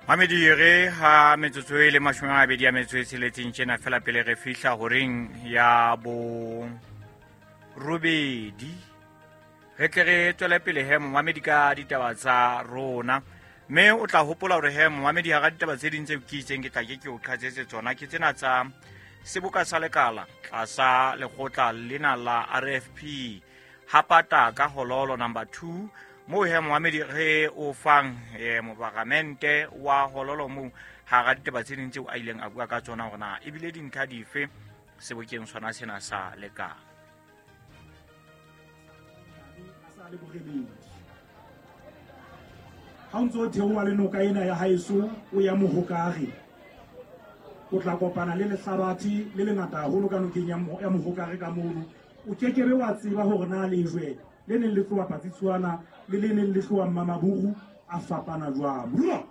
Mamedi re ha metsotso e le 26 tjena fela pele re fihla horeng ya bo robedi, re tle re tswele pele he momamedi ka ditaba tsa rona. Mme o tla hopola hore he momamedi, hara ditaba tse ding tse ke itseng ke tla ke ke o qhatsetse tsona ke tsena tsa seboka sa lekala tlasa lekgotla lena la RFP hapata ka hololo number 2, moo he momamedi re o fang moparamente wa hololo moo hara ditaba tse ding tseo a ileng a bua ka tsona hore na ebile dintlha dife sebokeng sona sena sa lekala. Ha o ntse o theoha le noka ena ya haeso o ya Mohokare, o tla kopana le lehlabathe le lengata haholo ka nokeng ya Mohokare ka mono. O kekebe wa tseba hore na lejwe le neng le tloha Patsitsuana le le neng le tloha Mmamaburu a fapana jwang. Moruo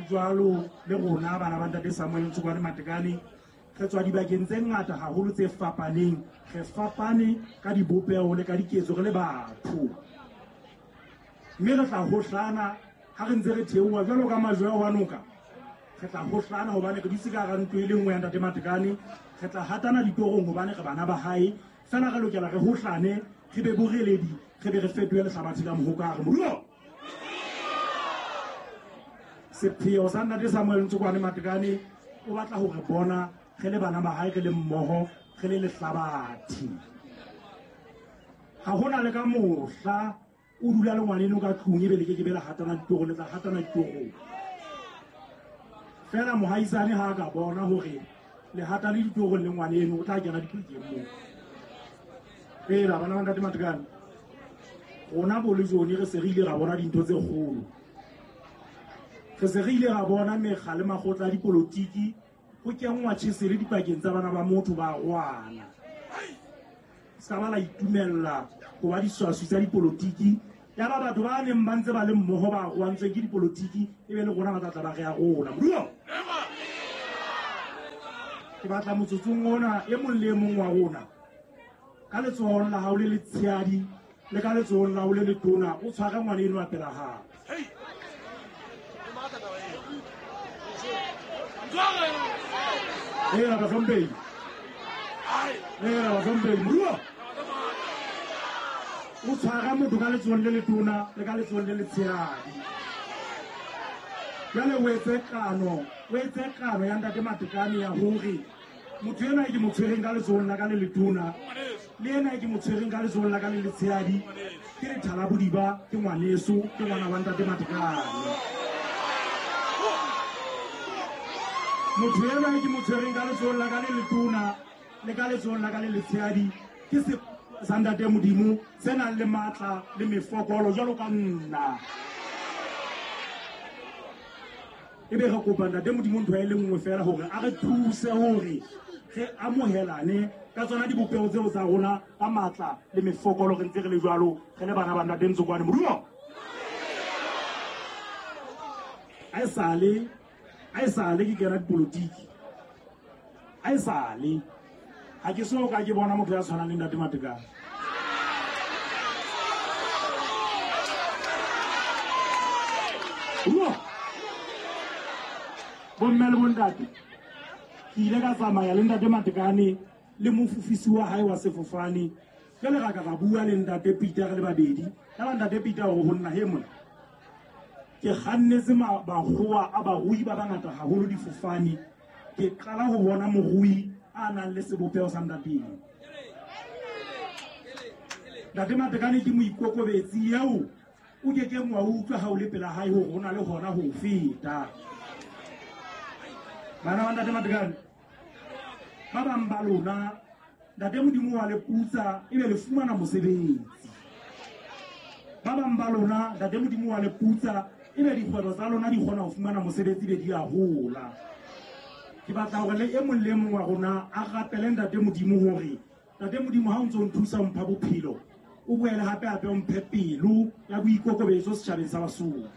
jwalo le rona bana ba ntate Samuel Ntshokwane Matekane re tswa dibakeng tse ngata haholo tse fapaneng, re fapane ka dibopeho le ka diketso re le batho, mme re tla hohlana ha re ntse re theoha jwalo ka majwe a wa noka. Re tla hohlana hobane re dutse ka hara ntlo e le nngwe ya ntate Matekane, re tla hatana ditorong hobane re bana ba hae. Fela re lokela re hohlane, re be boreledi, re be re fetohe lehlabathe la Mohokare. Moruo sepheo sa ntate Samuel Ntshokwane Matekane o batla ho re bona re le bana ba hae, re le mmoho, re le lehlabathe. Ha hona le ka mohla o dula le ngwaneno ka tlung ebe le ke ke be la hatana ditorong, le tla hatana ditorong. Fela mohaisane ha a ka bona hore le hata le ditorong le ngwaneno, o tla kena dipakeng moo. Fela bana ba ntate Matekane, rona bo le jone re se re ile ra bona dintho tse kgolo. Re se re ile ra bona mekga le makgotla a dipolotiki ho kenngwa tjhesele dipakeng tsa bana ba motho ba rwana. Se ka ba la itumella ho ba diswaswi tsa dipolotiki, ya ba batho ba neng ba ntse ba le mmoho ba rwantsweng ke dipolotiki e be le rona ba tla tla ba re ya rona. Moruo ke batla motsotsong ona e mong le e mong wa rona ka letsohong la hao le letshehadi le ka letsohong la hao le letona o tshware ngwana eno a pela hao. Era bahlomphehi, era bahlomphehi, moruo o tshwara motho ka letsohong le letona le ka letsohong le letshehadi. Jwale o etse kano, o etse kano ya ntate Matekane ya hore motho ena e ke mo tshwereng ka letsohong la ka le letona le ena e ke mo tshwereng ka letsohong la ka le letshehadi ke lethala bodiba, ke ngwaneso, ke ngwana wa ntate Matekane. Motho ena e ke mo tshwereng ka letsohong la ka le letona le ka letsohong la ka le letshehadi ke se sa ntate Modimo se nang le matla le mefokolo jwalo ka nna. Ebe re kopa ntate Modimo ntho e le nngwe fela hore a re thuse hore re amohelane ka tsona dibopeho tseo tsa rona ka matla le mefokolo, re ntse re le jwalo, re le bana ba ntate Ntshokwane. Moruo a esale ke kena dipolotiki, a esale ha ke so ka ke bona motho ya tshwanang le ntate Matekane. Ruo bomme le bontate, ke ile ka tsamaya le ntate Matekane le mofofisi wa hae wa sefofane. Jwale ra ka ra bua le ntate Peter re le babedi. Ya ba ntate Peter hore ho nna he mona ke kgannetse bakgowa a barui ba bangata haholo difofane, ke qala ho bona morui a nang le sebopeho sa ntate. Ntate Matekane ke moikokobetsi eo o ke keng wa utlwa ha o le pela hae hore o na le hona ho feta. Bana ba ntate Matekane, ba bang ba lona ntate Modimo wa le putsa ebe le fumana mosebetsi. Ba bang ba lona ntate Modimo wa le putsa ebe dikgwebo tsa lona di kgona ho fumana mosebetsi be di a hola. Ke batla hore le e mong le e mong wa rona a rapele ntate Modimo hore ntate Modimo ha o ntso o nthusa o mpha bophelo, o boele hape hape o mphe pelo ya boikokobetso setjhabeng sa Basotho.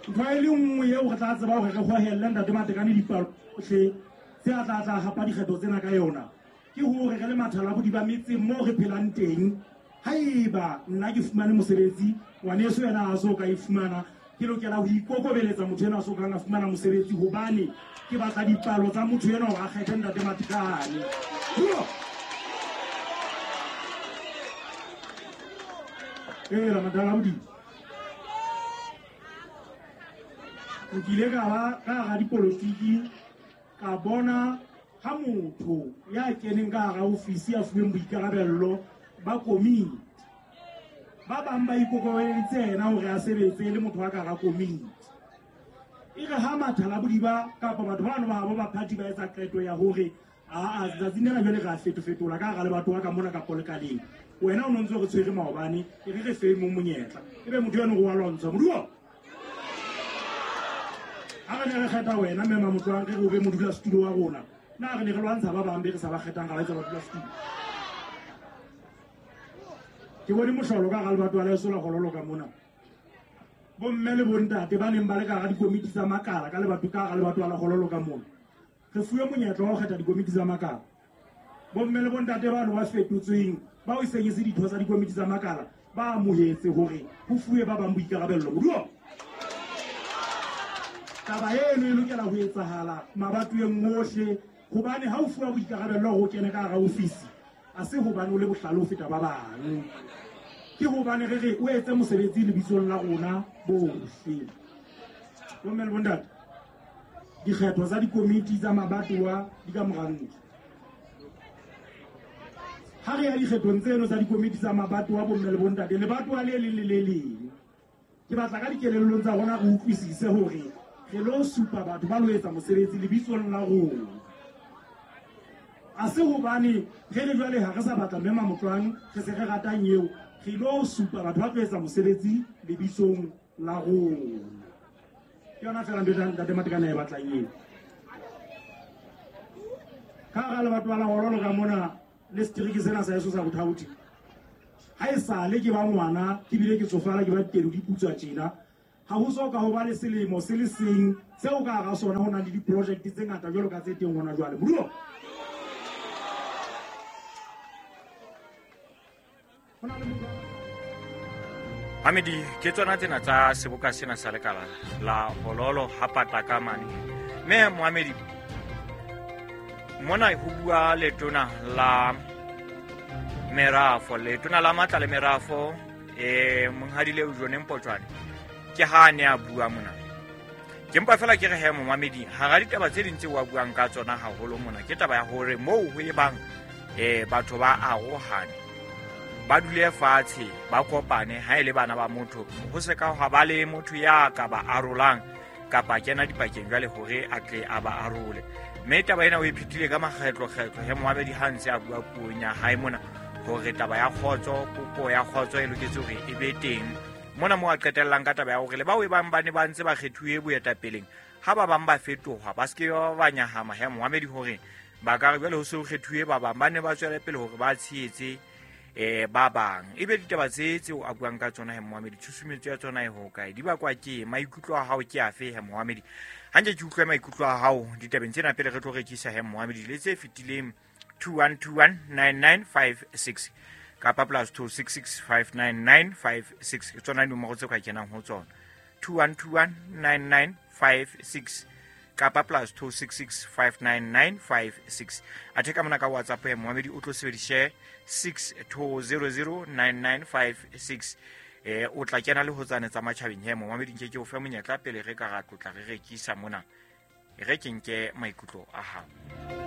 Ntho e le nngwe eo re tla tseba hore re hohelle ntate Matekane dipalo tsohle tse a tla tla hapa dikgetho tsena ka yona ke hore re le mathala bodiba metseng moo re phelang teng, Haeba nna ke fumane mosebetsi, ngwaneso yena a so ka e fumana, ke lokela ho ikokobeletsa motho ena a so kang a fumana mosebetsi, hobane ke batla dipalo tsa motho ena hore a kgethe Ntate Matekane. Ee, madala bodimo. Nkile ka ba ka hara dipolotiki, ka bona ha motho ya keneng ka hara ofisi ya fuweng boikarabello ba komiti, ba bang ba ikokobeleditse yena hore a sebetse le motho wa ka hara komiti. E re ha mathala bodiba kapa batho bano ba habo ba party ba etsa qeto ya hore aa tsatsing lena jwale re a fetofetola ka hara lebatowa ka mona kapo lekaleng, wena o no ntse re tshwere maobane, e re re fe mo monyetla, ebe motho eno o wa lwantsha. Moduo, ha re ne re kgetha wena mme Mamotloang re re o be modulasetulo wa rona, na re ne re lwantsha ba bang be re sa ba kgethang ra ba etsa badulasetulo? Ke bone mohlolo ka hara lebatowa la heso la Hololo ka mona. Bomme le bontate ba neng ba le ka hara dikomiti tsa makala ka lebato ka hara lebatowa la Hololo ka mona, re fuwe monyetla wa ho kgetha dikomiti tsa makala. Bomme le bontate bano ba fetotsweng, bao e seng e se ditho tsa dikomiti tsa makala, ba amohetse hore ho fuwe ba bang boikarabello. Moduo, taba eno e lokela ho etsahala mabatoweng ohle, hobane ha o fuwa boikarabello hore o kene ka hara ofisi, a se hobane o le bohlale ho feta ba bang, ke hobane re re o etse mosebetsi lebitsong la rona bohle. Bomme le bontate, dikgetho tsa dikomiti tsa mabatowa di ka mora ntlo. Ha re ya dikgethong tseno tsa dikomiti tsa mabatowa, bomme le bontate, lebatowa le leng le le leng, ke batla ka dikelellong tsa rona re utlwisise hore re lo supa batho ba lo etsa mosebetsi lebitsong la rona. A se hobane re le jwale ha re sa batla mme Mamotloang, re se re ratang eo, re lo supa batho ba tlo etsa mosebetsi lebitsong la rona. Ke yona feela ntho e Ntate Matekane a e batlang eo. Ka hara lebatowa la Hololo ka mona le setereke sena sa heso sa Bothaothi, ha e sale ke ba ngwana, ke bile ke tsofala, ke ba ditedu di putswa tjena, ha ho so ka ho ba le selemo se le seng seo ka hara sona ho nang le di-project tse ngata jwalo ka tse teng hona jwale. Moduo, Mamedi, ke tsona tsena tsa seboka sena sa lekala la Hololo ha patla ka mane. Mme Mohamedi, mona ho bua letona la merafo, letona la matla le merafo, monghadi Leo Jone Mpotjwane, ke ha a ne a bua mona. Ke mpa fela ke re he momamedi, hara ditaba tse ding tseo a buang ka tsona haholo mona, ke taba ya hore moo ho e bang batho ba arohane, ba dule fatshe, ba kopane, ha e le bana ba motho, ho se ka hwa ba le motho ya ka ba arolang kapa kena dipakeng jwale hore a tle a ba arole. Mme taba ena o e phethile ka makgetlo-kgetlo he Mohamedi ha ntse a bua puong ya hae mona, hore taba ya kgotso, popo ya kgotso e loketse hore e be teng. Mona moo a qetellang ka taba ya hore le bao e bang ba ne ba ntse ba kgethuwe boetapeleng, ha ba bang ba fetoha, ba se ke ba nyahama he Mohamedi hore ba ka re jwale ho se ho kgethuwe ba bang, ba ne ba tswele pele hore ba tshehetse ba bang. Ebe ditaba tse tseo a buang ka tsona he Mohamedi, tshusumetso ya tsona e hokae? Di bakwa ke maikutlo a hao ke afe he Mohamedi? Hanke ke utlwe maikutlo a hao ditabeng tsena pele re tlo rekisa he Mohamedi le tse fetileng 21219956 kapa plus 26659956, ke tsona dinomoro tse ka kenang ho tsona, 21219956 kapa plus 26659956. Athe ka mona ka WhatsApp ya Mohamedi o tlo sebedise 62009956. O tla kena le ho tsane tsa matjhabeng he Mohamedi, nke ke o fe monyetla pele re ka ra tlotla re rekisa mona, re ke nke maikutlo a hao.